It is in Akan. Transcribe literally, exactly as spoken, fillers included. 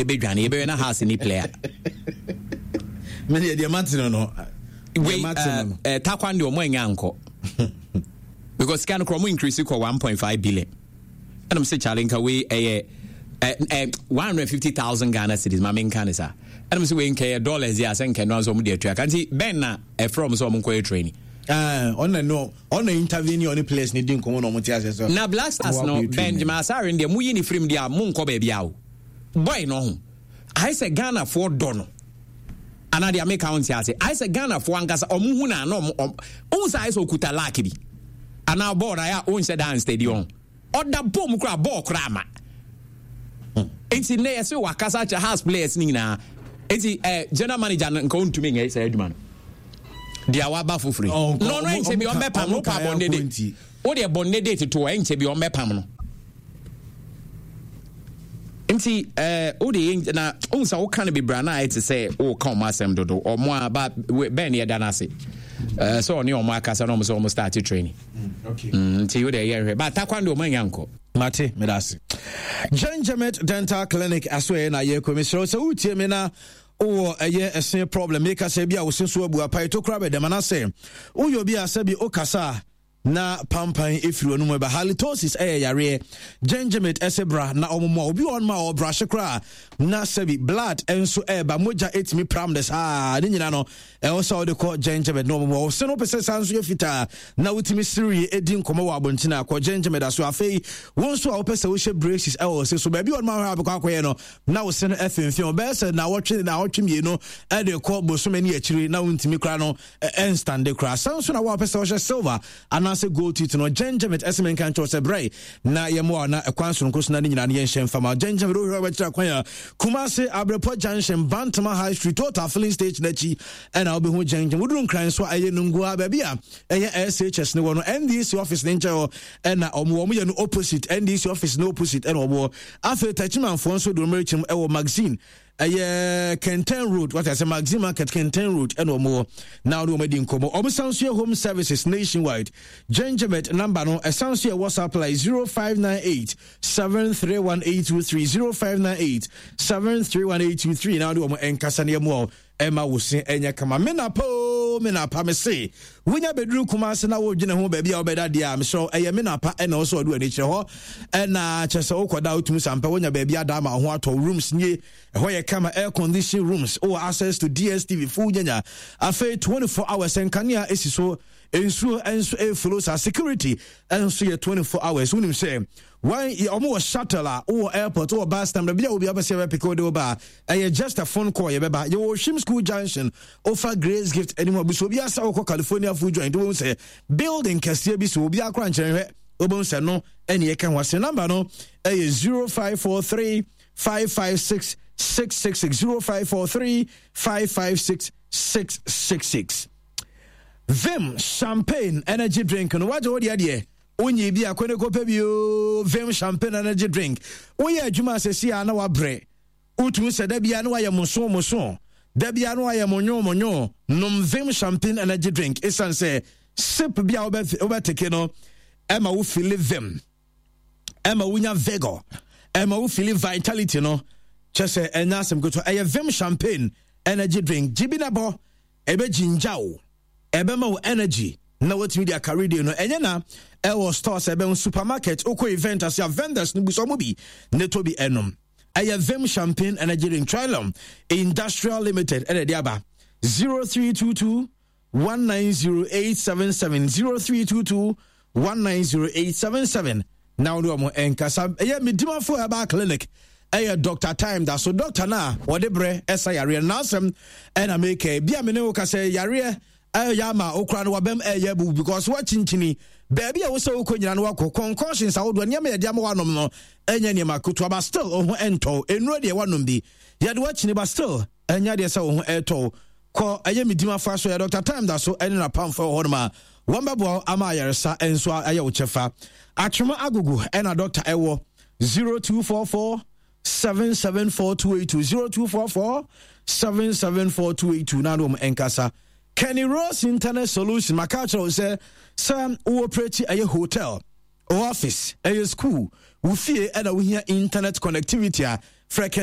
Ɛbɛdwane yɛbɛyɛ na Hearts ni player. Mene deɛ mate no no. Wei uh, Takwan deɛ, ɔmo anya nkɔ because sika no korɔ ɔmo increase kɔ one point five billion. Ɛnam sɛ kyale nka wei ɛyɛ one hundred fifty thousand Ghana cedis, ma menka ne saa. Ɛnam sɛ wei nkɛyɛ dollars yi a, sɛ nkɛ no sɛ ɔmo de atua ka. Nti bɛn na ɛfrɛ ɔmo sɛ ɔmo nkɔyɛ training? Ɔna no, ɔna interview ni, ɔne players ni di nkɔmɔ na ɔmo te ase sɛ Na Black Stars no, Benjamin Asare deɛ, muyi ne firim deɛ a, monkɔ baabi a o boy no ho ayɛ sɛ Ghanafoɔ dɔ no anaa deɛ meka wo nte ase. Ayɛ sɛ Ghanafoɔ ankasa ɔmo hu na na ɔmo ɔmo sɛ ayɛ sɛ ɔkuta luck bi anaa bɔɔl na ayɛ a ɔnhyɛ dan stadium, ɔda bɔɔl mu koraa, bɔɔl koraa ma. Nti nnɛ yɛsɛ wakasa kyerɛ Hearts players no nyinaa. Nti eh, general manager no nka ɔntumi nyɛ saa adwuma no deɛ waba foforɔ yi no no ɛnkyɛ bi ɔmbɛpam no pa bɔnne de wodeɛ bɔnne de toto, ɛnkyɛ bi ɔmbɛpam no. Nti ɛɛ wode yɛ na ohun sɛ woka no bebree na ayɛ te sɛ woka ɔmo asɛm dodo. Ɔmo a ba bɛn ne yɛda no ase ɛɛ sɛ ɔne ɔmo akasa na ɔmo sɛ ɔmo start training. mm, nti wode yɛ nhwɛ ba Takwan de, ɔmo anya nkɔ. Mate, meda ase. Genjamet Dental Clinic aso ɛyɛ na yɛkɔ. Mesrɛ wo sɛ wotie me na wowɔ ɛyɛ ɛse problem, meka sɛ bi a wo se so abu apae to kora bɛdɛm, anasɛ woyɛ obi a sɛbi wokasa a na pampan ɛfiri w'anum ɛba, halitosis ɛyɛ yareɛ, Genjamet ɛsɛ bra na ɔmomoa. Obi wɔ hɔnom a ɔbrahye koraa na sɛbi blood nso ɛɛba, mogya ɛtumi pram de saa ne nyina no, ɛwɔ sɛ wode kɔ Genjamet na ɔmomoa. Wo se no wopɛ sɛ saa nso yɛ fitaa na wotumi serewie ɛdi nkɔmmɔ wɔ abɔnten a, kɔ Genjamet aso. Afei wo nso a wopɛ sɛ wohyɛ braces ɛwɔ wo se so, baabi wɔ nom ahɔ a bɛkɔ akɔyɛ no na wo se no ɛfemfem ɔbɛyɛ sɛ nawɔtwe nawɔtwe mmienu ɛde kɔ bosome ne akyiri na wontumi koraa no ɛnstande koraa. San so na wo a wopɛ sɛ wɔhyɛ silver anaasɛ gold teeth no, Genjamet ɛsɛ menka nkyɛw sɛ brɛ na yɛmmoa na ɛkwan soronko so na ne nyinaa no yɛnhyɛ mfama. Genjamet wohwɛ wobɛkyerɛ kwan a, Kumase Abrɛpɔ Junction, Bantama High Street, Total filling station akyi ɛna wobɛhu Genjamet. Woduru Nkran so a, ɛyɛ Nungua, baabi a ɛyɛ S H S ne wɔ no, N D C office ne nkyɛn hɔ ɛna ɔmo wɔn yɛ no opposite N D C office ne opposite ɛna ɔmo wɔ. Afei Tachimanfoɔ nso de wɔn rekyɛm ɛwɔ Magazine, ɛyɛ Kenten Road, wata sɛ Magazine Market, Kenten Road ɛna ɔmo wɔ na ɔne wɔn adi nkɔmɔ. Ɔmo san so yɛ home services nationwide. Genjamet number no ɛsan so yɛ WhatsApp line zero five nine eight seven three one eight two three, zero five nine eight seven three one eight two three, na ɔne wɔn nkasa ne ɛmu a ɛma wo se ɛnyɛ kama. Me napa o, me napa, me se wonya bɛduru Kuma ase na wodwene ho baabi a wobɛda deɛ a, mesrɛ, ɛyɛ me napa ɛna wo sɛ ɔde w'ani kyerɛ hɔ. Ɛna kyerɛ sɛ wokɔda, wotumi sampɛ wonya baabi ada ama wo ho atɔ. Rooms nie, ɛhɔ yɛ kama, air condition rooms, wowɔ access to D S T V full nyanya. Afei twenty-four hours nkanea ɛsi so, nsuo nso ɛflow saa, security nso yɛ twenty-four hours. Wonim sɛ wɔn ɔmo wɔ shuttle a wowɔ airport, wowɔ bus stand, baabi a obi apɛ sɛ yɛbɛpick wode wo ba a, ɛyɛ just a phone call, yɛbɛba. Yɛwɔ Ohwim School Junction, ofa Grace Gift anim abuso obi asa wokɔ California Food Joint, wobɛhu sɛ building kɛseɛ bi so, obi akora nkyɛn hwɛ, wobɛhu sɛ no ɛne yɛka ho ase. Number no ɛyɛ zero five four three five five six six six six, zero five four three five five six six six six. Vim Champagne Energy Drink no, wagye wo deɛ deɛ wonyi bi akɔne kɔpɛ bi o. Vim Champagne Energy Drink, woyɛ adwuma asɛsi a na wabrɛ, wotumi sɛ da bia na wayɛ moso moso, da bia na wayɛ monyo monyo, nom Vim Champagne Energy Drink. Ɛsiane sɛ sip bi a wobɛteke no ɛma wo feel vim, ɛma wonya vigor, ɛma wo feel vitality no, kyɛ sɛ ɛnyɛ asɛm ketewa. Ɛyɛ Vim Champagne Energy Drink. Gye bi na bɔ, ɛbɛgyingya wo, ɛbɛma wo energy na watumi de akare deɛ no. Ɛnyɛ na ɛwɔ stores, ɛbɛn supermarket, wokɔ event ase a, vendors no bu sɛ ɔmo bi ne tɔ bi ɛnom. Ɛyɛ Vim Champagne Energy Drink, Trilum Industrial Limited ɛna ɛde aba. zero three two two one nine zero eight seven seven, zero three two two one nine zero eight seven seven, na wode ɔmo ɛnkasa. Ɛyɛ Medimafo Herbal Clinic, ɛyɛ Doctor Time da so. Doctor no a wɔde berɛ ɛsa yareɛ no n'asɛm ɛna meka bi a me ne wo ka sɛ yareɛ ɛyɛ ama okura no wabɛm ɛyɛ bu because wakyinkyini baabi a wosɛ wokɔ nyina no, wakɔ concoctions ahodoɔ, nneɛma yɛde ama wanom no ɛnyɛ nneɛma ketewa, but still wo ho ɛntɔw. Nnuro deɛ wanom bi, yɛde wakyini, but still ɛnyɛ deɛ sɛ wo ho ɛtɔw. Kɔ ɛyɛ Medim afa so, yɛ Doctor Time da so ɛne napamfo wɔ hɔnom a wɔn bɛboa ama ayaresa nso ayɛ wo kyɛfa. Atwoma Agogo ɛna doctor ɛwɔ zero two four four seven seven four two eight two, zero two four four seven seven four two eight two, na wɔn nkasa. Kenny Rose Internet Solution, maka kyerɛ wo sɛ sɛ wowɔ operate ɛyɛ hotel, office, ɛyɛ school, wo fie, ɛna wohia internet connectivity a, frɛ Kenny.